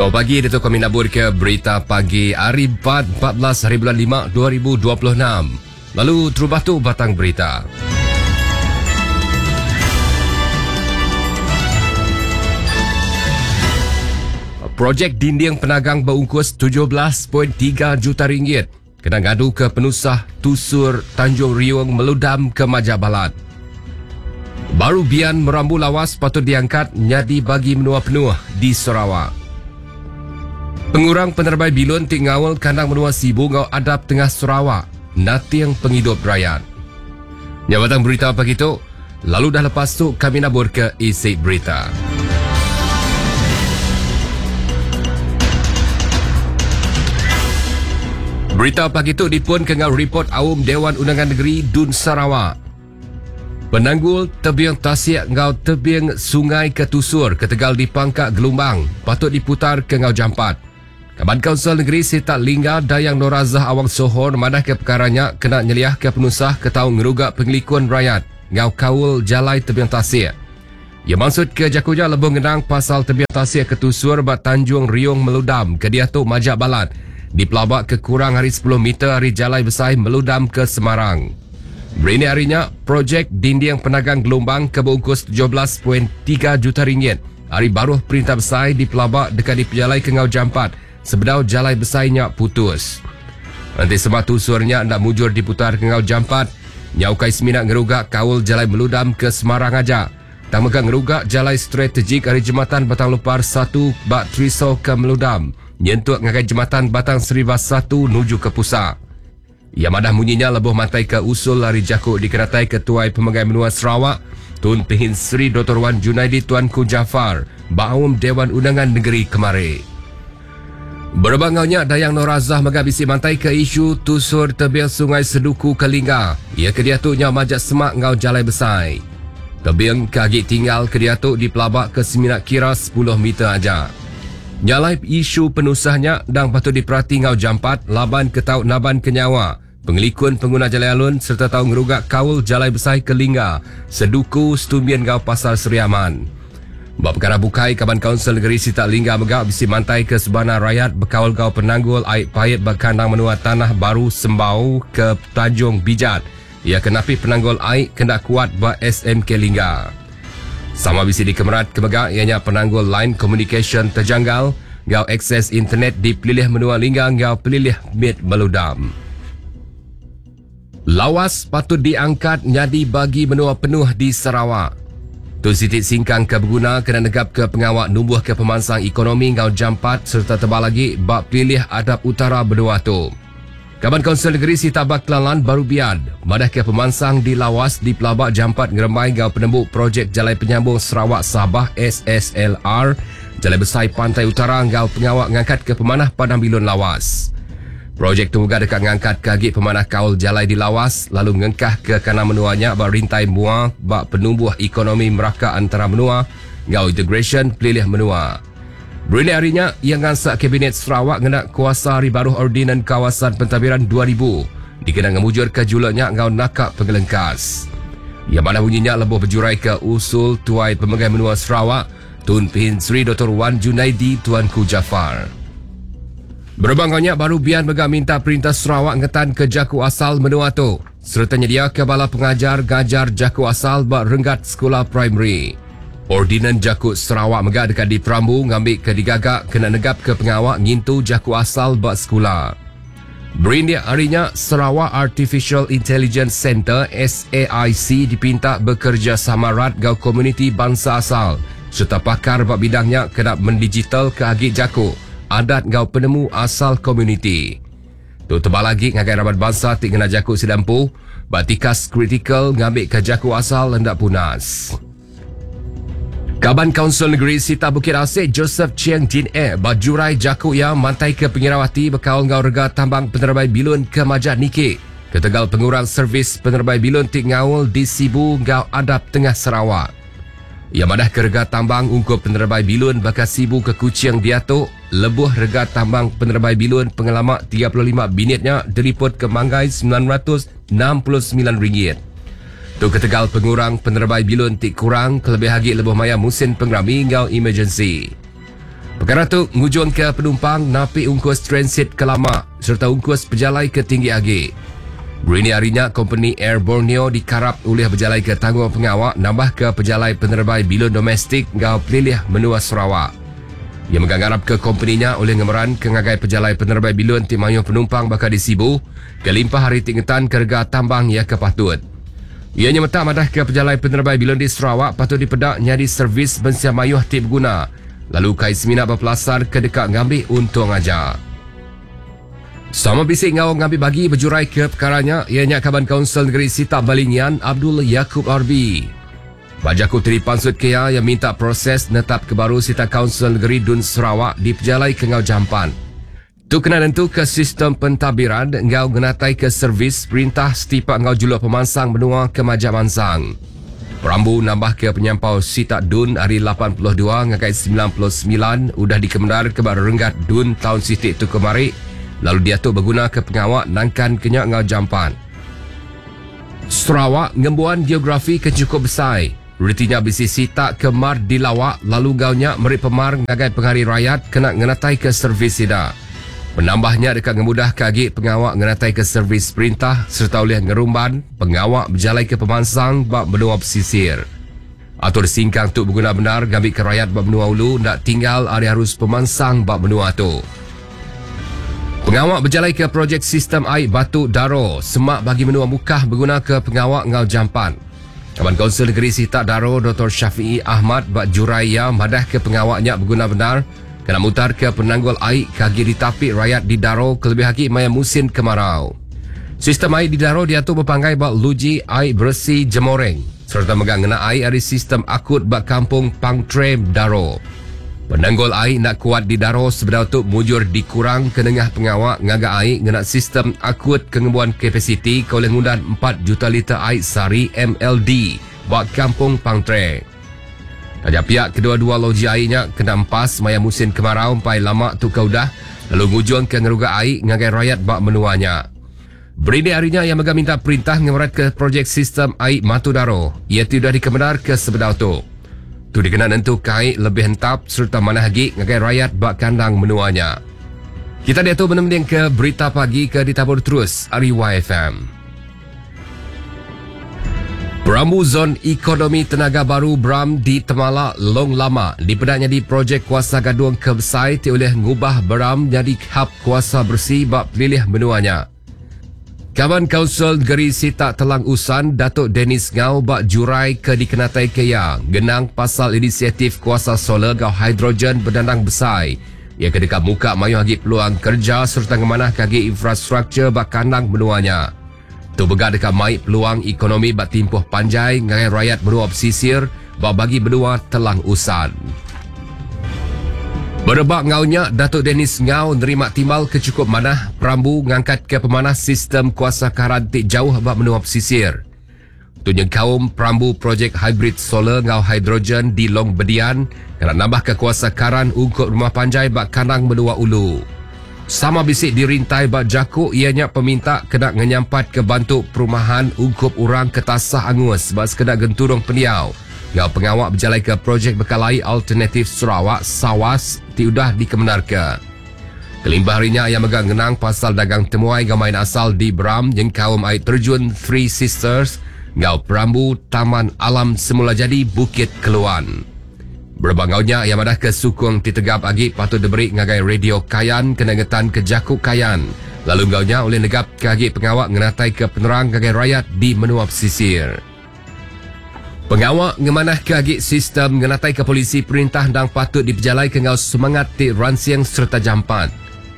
Selamat pagi, ditu kami nabur ke berita pagi hari 4, 14 hari bulan 5, 2026. Lalu terubah tu batang berita. Projek dinding penagang berungkus 17.3 juta ringgit kena ngadu ke penusah tusur Tanjung Riung meludam ke Majak Balat. Baru Bian merambu lawas patut diangkat nyadi bagi menua penuh di Sarawak. Pengurang penerbai bilun ti ngaul kandang menua Sibu enggau adap tengah Sarawak nating pengidup rayat. Nya batang berita pagi tu, lalu dah lepas tu kami nabur ke isi berita. Berita pagi tu dipun ke enggau ripot Aum Dewan Undangan Negeri Dun Sarawak. Penanggul tebing tasik enggau tebing sungai ke tusur ketegal dipangka gelumbang patut diputar ke enggau jampat. Kaban Kaunsil Negeri Sitak Lingga Dayang Norazah Awang Sohor madahka pekara nya kena nyeliahka penusah ke tau ngeruga pengelikun rayat enggau kaul jalai tebing tasik. Iya mansutka jaku nya lebuh ngenang pasal tebing tasik ke tusur ba Tanjung Riung Meludam ke diatu majak balat dipelaba ke kurang ari sepuluh meter ari jalai besai Meludam ke Semarang. Berindik ari nya, projek dinding penagang gelumbang ke beungkus 17.3 juta ringgit Ari baruh perintah besai dipelaba deka dipejalaika enggau jampat sebedau jalai besai nya putus. Enti sema tusur nya enda mujur diputarka enggau jampat, nya ukai semina ngeruga kaul jalai Meludam ke Semarang aja, tang mega ngeruga jalai strategik ari Jematan Batang Lupar satu ba Triso ke Meludam nyentuk ngagai Jematan Batang Seribas satu nuju ke Pusa. Iya madah munyi nya lebuh mantaika usul ari jaku dikenataika Tuai Pemegai Menua Sarawak, Tun Pehin Sri Doktor Wan Junaidi Tuanku Jaafar ba aum Dewan Undangan Negeri kemari. Berebak enggau nya, Dayang Norazah mega bisi mantaika isu tusur tebing Sungai Seduku ke Lingga iya ke diatu nyau majak semak enggau jalai besai. Tebing ke agi tinggal ke diatu dipelabaka semina kira sepuluh meter aja. Nya alai isu penusah nya endang patut diperati enggau jampat laban ke tau nabanka nyawa, pengelikun penguna jalai alun sereta tau ngeruga kaul jalai besai ke Lingga, Seduku, Setumbin enggau Pasar Seri Aman. Ba pekara bukai, Kaban Kaunsil Negeri Sitak Lingga mega bisi mantaika sebana rayat bekaul enggau penanggul ai paip ba kandang menua Tanah Baru Sembau ke Tanjung Bijat. Iya ke napi penanggul ai ke enda kuat ba SMK Lingga. Sama bisi dikemerat ke mega iya nya penanggul line komunikasyen tejanggal enggau akses internet di pelilih menua Lingga enggau pelilih mit Meludam. Lawas patut diangkat nyadi bagi menua penuh di Sarawak. Tu siti singkang ke beguna kena negapka pengawa numbuhka pemansang ekonomi enggau jampat sereta tebal agi ba pelilih adap utara menua tu. Kaban Kaunsil Negeri Sitak Kelalan Baru Bian madahka pemansang di Lawas dipelaba jampat ngerembai enggau penembu projek Jalai Penyambung Sarawak Sabah, SSLR, Jalai Besai Pantai Utara enggau pengawa ngangkatka pemanah Padang Bilun Lawas. Projek tu mega deka ngangkatka agi pemanah kaul jalai di Lawas lalu ngengkahka kandang menua nya ba rintai mua ba penumbuh ekonomi meraka antara menua enggau integrasyen pelilih menua. Berindik ari nya, iya ngansak Kabinet Sarawak ngena kuasa ari baruh Ordinan Kawasan Pentadbiran 2000 dikena ngemujurka juluk nya enggau naka pengelengkas. Iya madah munyi nya lebuh bejuraika usul Tuai Pemegai Menua Sarawak, Tun Pehin Sri Doktor Wan Junaidi Tuanku Jaafar. Berebak enggau nya, Baru Bian mega minta Perintah Sarawak ngetanka jaku asal menua tu sereta nyediaka bala pengajar ngajar jaku asal ba renggat sekula primary. Ordinan Jaku Sarawak mega deka diperambu ngambika digaga kena negapka pengawa ngintu jaku asal ba sekula. Berindik ari nya, Sarawak Artificial Intelligence Centre, SAIC, dipinta bekerejasama rat enggau komuniti bansa asal sereta pakar ba bidang nya kena mendigitalka agi jaku, adat enggau penemu asal komuniti. Tu tebal agi ngagai raban bansa ti ngena jaku sida empu ba tikas kritikal ngambika jaku asal enda punas. Kaban Kaunsil Negeri Sita Bukit Asik Joseph Chieng Jin E ba jurai jaku iya mantaika pengirau ati bekaul enggau rega tambang penerebai bilun ke majak niki ketegal pengurang servis penerebai bilun ti ngaul di Sibu enggau adap tengah Sarawak. Iya madahka rega tambang ungkup penerebai bilun baka Sibu ke Kuching diatu lebuh rega tambang penerebai bilun pengelama 35 minit nya diripotka manggai 969 ringgit. Tu ketegal pengurang penerebai bilun ti kurang kelebih agi lebuh maya musin pengerami enggau emergensi. Pekara tu ngujungka penumpang napi ungkus transit ke lama sereta ungkus pejalai ke tinggi agi. Berindik ari nya, kompeni Air Borneo dikarap ulih bejalaika tanggungpengawa nambahka pejalai penerebai bilun domestik enggau pelilih menua Sarawak. Iya mega ngarapka kompeni nya ulih ngemeranka ngagai pejalai penerebai bilun ti mayuh penumpang baka di Sibu kelimpah ari ti ngetanka rega tambang iya ke patut. Iya nyemetak madahka pejalai penerebai bilun di Sarawak patut dipeda nyadi servis mensia mayuh ti beguna lalu ukai semina bepelasar ke deka ngambi untung aja. Sama bisi enggau ngambi bagi bejuraika pekara nya iya nya Kaban Kaunsil Negeri Sitak Balingian Abdul Yakub Arbi. Ba jaku ti dipansutka iya, iya minta proses netapka baru sitak Kaunsil Negeri Dun Sarawak dipejalaika enggau jampat. Tu kena nentuka sistem pentadbiran enggau ngenataika servis perintah setipak enggau juluk pemansang menua ke majak mansang. Perambu nambahka penyampau sitak Dun ari 82 ngagai 99 udah dikemendarka ba rerenggat Dun taun siti tu kemari lalu diatu begunaka pengawa nangkanka nya enggau jampat. Sarawak ngembuan geografi ke chukup besai. Reti nya bisi sitak ke mar dilawa lalu enggau nya meri pemar ngagai pengari rayat kena ngenataika servis sida. Penambah nya deka ngemudahka agi pengawa ngenataika servis perintah sereta ulih ngerumban pengawa bejalaika pemansang ba menua pesisir. Atur singkang tu beguna bendar ngambika rayat ba menua ulu enda tinggal ari arus pemansang ba menua tu. Pengawa bejalaika projek sistem ai batu Daro semak bagi menua Mukah begunaka pengawa enggau jampat. Kaban Kaunsil Negeri Sitak Daro Doktor Shafie Ahmad ba jurai iya madahka pengawa nya beguna bendar kena mutarka penanggul ai ke agi ditapi rayat di Daro kelebih agi maya musin kemarau. Sistem ai di Daro diatu bepanggai ba luji ai beresi Jemoreng sereta mega ngena ai ari sistem akut ba Kampung Pangtrem Daro. Penanggul ai enda kuat di Daro sebedau tu mujur dikurangka nengah pengawa ngaga ai ngena sistem akut ke ngembuan kapasiti ke ulih ngundan empat juta liter ai sehari, MLD, ba Kampung Pangtre. Taja pia kedua-dua loji ai nya kena empas maya musin kemarau empai lama tu ke udah lalu ngujungka ngeruga ai ngagai rayat ba menua nya. Berindik ari nya iya mega minta perintah ngemeratka projek sistem ai Matu Daro iya ti udah dikemendarka sebedau tu. Tu dikena nentuka ai lebih entap sereta manah agi ngagai rayat ba kandang menua nya. Kita diatu menemendingka Berita Pagi ke ditabur terus ari YFM. Perambu Zon Ekonomi Tenaga Baru Bram di Temala, Long Lama dipeda nyadi projek kuasa gadung ke besai ti ulih ngubah Beram nyadi hab kuasa beresi ba pelilih menua nya. Kaban Kaunsil Negeri Sitak Telang Usan, Datuk Dennis Ngau ba jurai ke dikenataika iya ngenang pasal inisiatif kuasa solar enggau hidrogen bedandang besai iya ke deka muka mayuh agi peluang kereja sereta ngemanahka agi infrastruktur ba kandang menua nya. Tu mega deka mai peluang ekonomi ba timpuh panjai ngagai rayat menua pesisir ba bagi menua Telang Usan. Berebak enggau nya, Datuk Dennis Ngau nerima timbal ke chukup manah perambu ngangkatka pemanah sistem kuasa karan ti jauh ba menua pesisir. Tu nyengkaum perambu projek hibrid solar enggau hidrogen di Long Bedian kena nambahka kuasa karan ungkup rumah panjai ba kandang menua ulu. Sama bisi dirintai ba jaku iya nya peminta kena ngenyampatka bantu perumahan ungkup orang ke tasah angus ba sekeda genturung pendiau enggau pengawa bejalaika projek bekalai alternatif Sarawak, SAWAS, ti udah dikemendarka. Kelimpah ari nya, iya mega ngenang pasal dagang temuai enggau main asal di Beram nyengkaum ai terjun Three Sisters enggau perambu Taman Alam Semula Jadi Bukit Keluan. Berebak enggau nya, iya madahka sukung ti tegap agi patut diberi ngagai Radio Kayan kena ngetanka jaku Kayan lalu enggau nya ulih negapka agi pengawa ngenataika penerang ngagai rayat di menua pesisir. Pengawa ngemanahka agi sistem ngenataika polisi perintah endang patut dipejalaika enggau semangat ti ransing sereta jampat.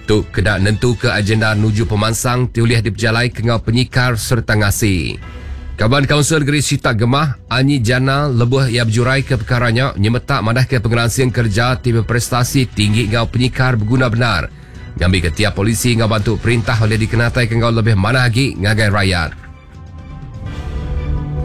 Tu kena nentuka agenda nuju pemansang ti ulih dipejalaika enggau penyikar sereta ngasi. Kaban Kaunsil Negeri Sitak Gemah, Anyi Jana lebuh iya bejuraika pekara nya nyemetak madahka pengeransing kereja ti beprestasi tinggi enggau penyikar beguna bendar ngambika tiap polisi enggau bantu perintah ulih dikenataika enggau lebih manah agi ngagai rayat.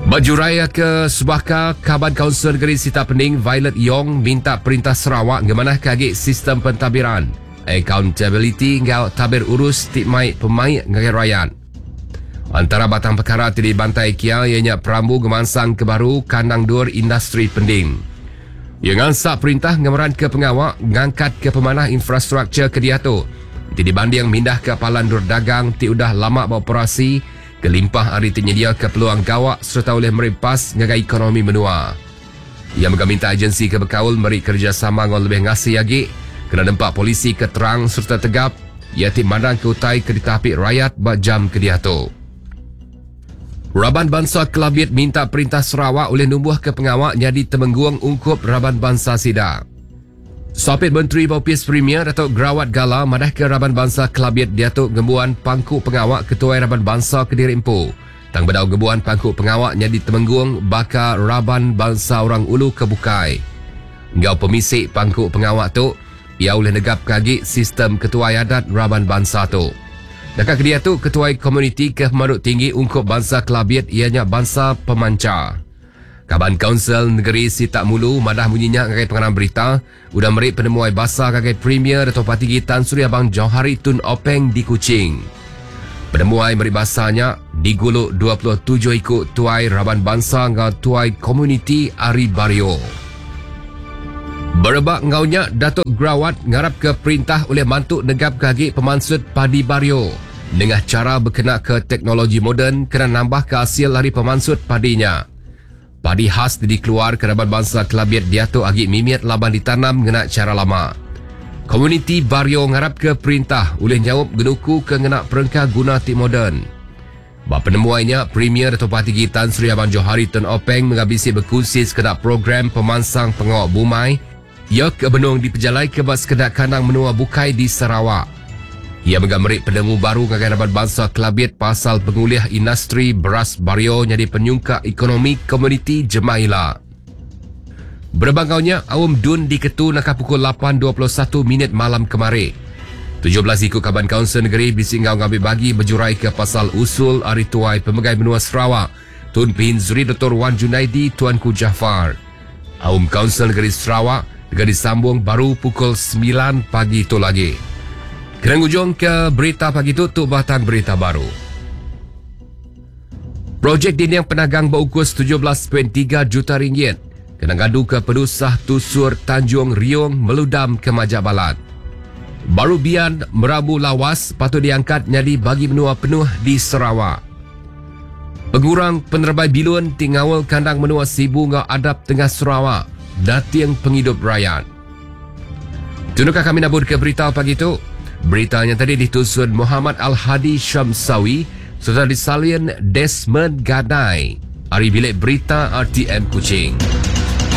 Ba jurai ke sebaka, Kaban Kaunsil Negeri Sitak Pening Violet Yong minta Perintah Sarawak ngemanahka agi sistem pentadbiran, akauntabiliti enggau tabir urus ti mai pemaik ngagai rayat. Antara batang pekara ti dibantai kia iya nya perambu ngemansangka baru kandang endur industri Pending. Iya ngansak perintah ngemeranka pengawa ngangkatka pemanah infrastruktur ke diatu ti dibanding mindahka palan endur dagang ti udah lama beoperasi kelimpah ari ti nyediaka peluang gawa sereta ulih meri empas ngagai ekonomi menua. Iya mega minta agensi ke bekaul meri kerejasama enggau lebih ngasi agi kena nempa polisi ke terang sereta tegap iya ti mandangka utai ke ditapi rayat ba jam ke diatu. Raban bansa Kelabit minta Perintah Sarawak ulih numbuhka pengawa nyadi temenggung ungkup raban bansa sida. Sapit Menteri ba Opis Premier Datuk Gerawat Gala madahka raban bansa Kelabit diatu ngembuan pangku pengawa ketuai raban bansa kediri empu tang bedau ngembuan pangku pengawa nyadi temenggung baka raban bansa Orang Ulu ke bukai. Enggau pemisi pangku pengawa tu, iya ulih negapka agi sistem ketuai adat raban bansa tu. Naka kediatu, ketuai komuniti ke pemadu tinggi ungkup bansa Kelabit iya nya bansa Pemancha. Kaban Kaunsil Negeri Sitak Mulu madah munyi nya ngagai pengarang berita udah meri penemuai basa ngagai Premier Datuk Patinggi Tan Sri Abang Johari Tun Openg di Kuching. Penemuai meri basa nya digulu 27 iku tuai raban bansa enggau tuai komuniti ari Bario. Berebak enggau nya, Datuk Gerawat ngarapka perintah ulih mantu negapka agi pemansut padi Bario nengah chara bekenaka teknologi moden kena nambahka asil ari pemansut padi nya. Padi khas ti dikeluarka raban bansa Kelabit diatu agi mimit laban ditanam ngena chara lama. Komuniti Bario ngarapka perintah ulih nyaup genukuka ngena perengka guna ti moden. Ba penemuai nya, Premier Datuk Patinggi Tan Sri Abang Johari Tun Openg mega bisi bekunsi sekeda program pemansang pengawa bumai iya ke benung dipejalaika ba sekeda kandang menua bukai di Sarawak. Iya mega meri penemu baru ngagai raban bansa Kelabit pasal pengulih industri beras Bario nyadi penyungkak ekonomi komuniti jemah ila. Berebak enggau nya, aum Dun diketu naka pukul 8.21 minit malam kemari. 17 iku kaban Kaunsil Negeri bisi enggau ngambi bagi bejuraika pasal usul ari Tuai Pemegai Menua Sarawak, Tun Pehin Sri Doktor Wan Junaidi Tuanku Jaafar. Aum Kaunsil Negeri Sarawak deka disambung baru pukul 9 pagi tu lagi. Kena ngujungka berita pagi tu, tu batang berita baru. Projek dinding penagang beungkus 17.3 juta ringgit kena ngaduka penusah tusur Tanjung Riong meludam ke majak balat. Baru Bian Merabu Lawas patut diangkat nyadi bagi menua penuh di Sarawak. Pengurang penerebai bilun ti ngaul kandang menua Sibu enggau adap tengah Sarawak dating pengidup rayat. Tunuka kami naburka berita pagi tu. Berita nya tadi ditusun Muhammad Al-Hadi Syamsawi sereta disalin Desmond Gadai ari Bilik Berita RTM Kuching.